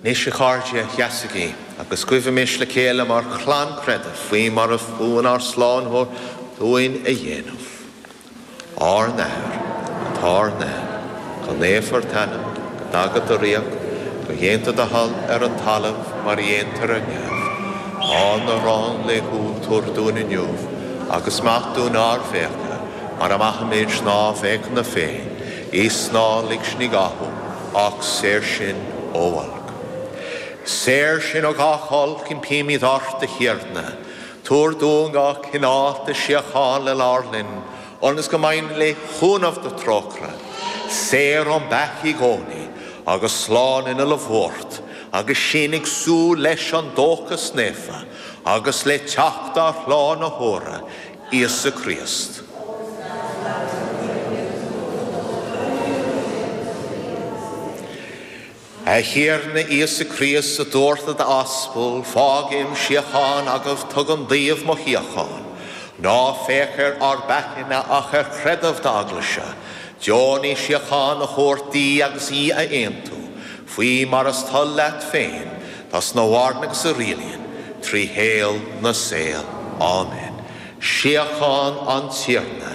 Anois, a chairde, seasaigí agus guímis le chéile mar chlann creidimh faoi mar a mhúin ár Slánaitheoir dúinn a dhéanamh. Ár nAthair, atá ar neamh, go naofar t'ainm, go dtaga do ríocht, go ndéantar do thoil ar an talamh mar a dhéantar ar neamh. Ár n-arán laethúil tabhair dúinn inniu, agus maith dúinn ár bhfiacha, mar a maithimid ár bhfiachanna féin, is ná lig sinn i gcathú, ach saor sinn ó olc. Saor sinn ó gach olc, impímid ort, a Thiarna. Tabhair dúinn go cineálta síocháin lenár linn, ionas go mbeinn le cúnamh do thrócaire, saor ón bpeaca i gcónaí agus slán in uile bhuairt, agus sinn ag súil leis an dóchas naofa agus le teacht ár Shlánaitheora, Íosa Críost. A Thiarna Íosa Críost, a dúirt le d'aspail, Fágaim síocháin agaibh, tugaim daoibh mo shíocháin. Ná féach ar ár bpeacaí ach ar chreideamh d'Eaglaise. Deonaigh síocháin a thabhairt di agus í a aontú, faoi mar is toil leat féin, tusa a mhaireann agus a rialaíonn trí shaol na saol. Áiméan. Síocháin an Tiarna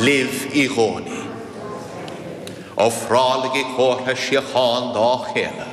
libh i gcónaí. Ofrálaigí comhartha síocháin dá chéile.